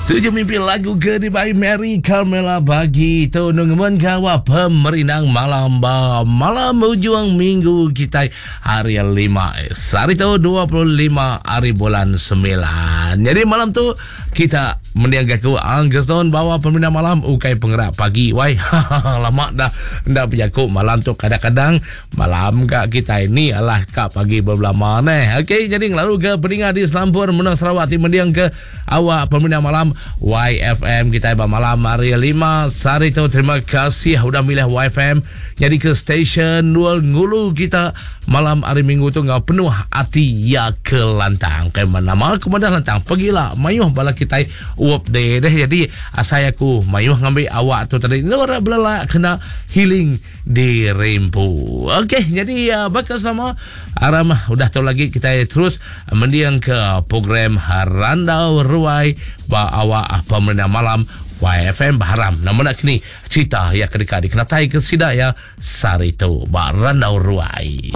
Tuju mimpi lagu ke dibai Mary Carmela bagi tu nungemen gawa pemerindang malam ba malam ujung minggu kitai hari lima. Sehari tu 25 hari bulan 9. Jadi malam tu kita mendiang gaku Anggeston bawa pemerindang malam ukai pengerak pagi wai. Lama dah enda bejaku malam tu kadang-kadang Malam ka kitai ni alah ka pagi bebelama neh. Okey jadi ngelalu ke peninga di selampur menua Sarawak ti mending ke awak pemindah malam YFM kitai ba malam hari lima sehari tu. Terima kasih udah milih YFM nyadi ke stesen nul ngulu kita malam hari minggu tu enggau penuh ati iya ke lantang. Kai nama aku madah lantang pegila mayuh bala kitai uap deh deh jadi asai aku mayuh ngambi awak tu tadi endur belelak kena healing Dirempu. Okey, jadi uh, baka selama aram udah tu lagi kita terus mendiang ke program Randau Ruai ba awak pemerintah malam YFM Baharam. Nama nak kini cerita yang kedeka dikenatai ke sida ya sehari tu ba Randau Ruai.